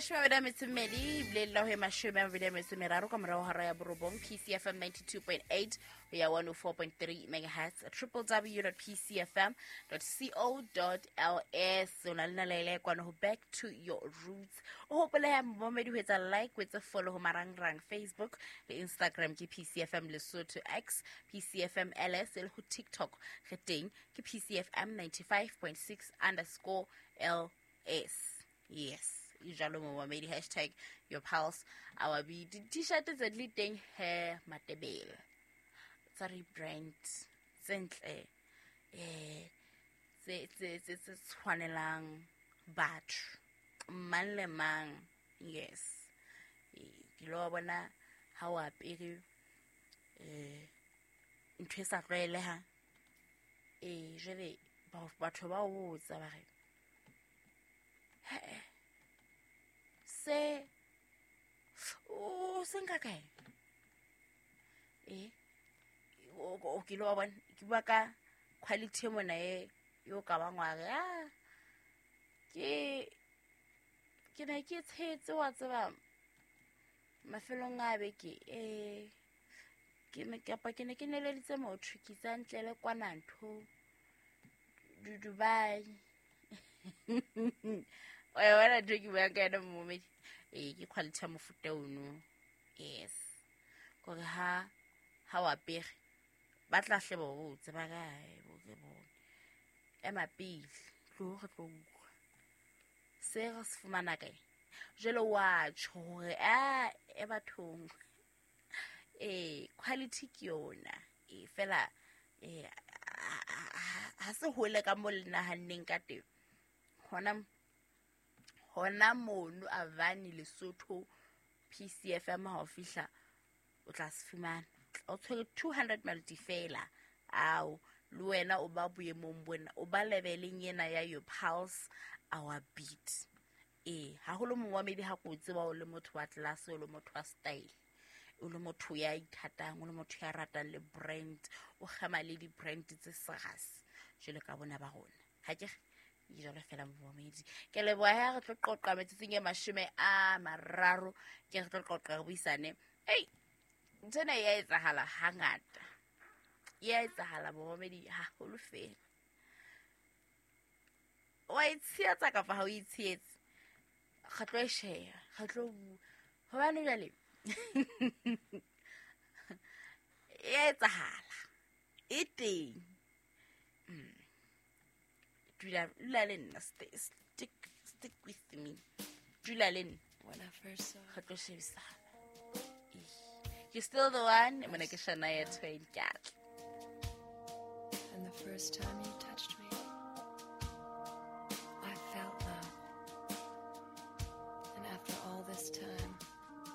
22 ebile la ho e 23 ka morao hora ya borobong. PCFM 92.8 ho ya 104.3 megahertz, www.pcfm.co.ls. O na le nalaele kwano ho Back to Your Roots. O hopole ya momedi ho etsa like, ho etsa follow ho marangrang Facebook le Instagram ke PCFM Lesotho, X PCFM LS, le ho TikTok re teng ke PCFM 95.6_LS. Yes, e jalo momamedi. Hashtag your pulse our beat. Di-t-shirt tse di le teng he Matebele tsa rebrand, tse ntle, tse tshwanelang batho mang le mang. Yes, ke lo bona ha o apere ntho e sa tlwaelehang. Jwale batho ba o botsa ba re, "He, se o se nka kae?" O ke lo wa bona, ke bua ka quality e mona e yo ka bang wa re, "Ah, ke ne ke tshetse wa tseba mafelong a beke, ke ne kapa ke ne ke neleditse motho ke itse a ntlele kwana ntho Dubai." Wa e bona ntho e ke buang ka yona, momedi? Ke quality ya mofuta ono. Yes, kore ha o apere ba tla hle ba o botse ba re, "Ai, bo re bone, ema pele, tlo re tlo utlwa se re se fumana kae." Jwale wa tjho hore a e bathong, quality ke yona e fela, ha se hole ka mo le nahanneng ka teng. Hona mono Avani Lesotho, PCFM, ha o fihla o tla se fumana o tshwere 200 melody fela. Ao le wena o ba boemong bona, o ba leveleng ena ya your pulse our beat. Haholo momamedi, ha ko tseba o le motho wa class, o le motho wa style, o le motho ya ithatang, o le motho ya ratang le brand, o kgema le di-brand tse serious jwalo ka bona ba rona. Ha ke re ke jalo fela, momamedi? Ke leboha ha re tlo qoqa metsotsong e 30, ke re tlo qoqa, re buisane. Ei, nthwena e ya etsahala hangata, e ya etsahala, momamedi, haholo fela. Wa itshehetsa kapa ha o itshehetse? Re tlo e share, re tlo bua hobane jwale e ya etsahala, e teng. Dula le nna, stick with me, dula le nna. When I first saw Re tlo shebisana. You're still the one. Mona ke Shania Twain, ke atla. And the first time you touched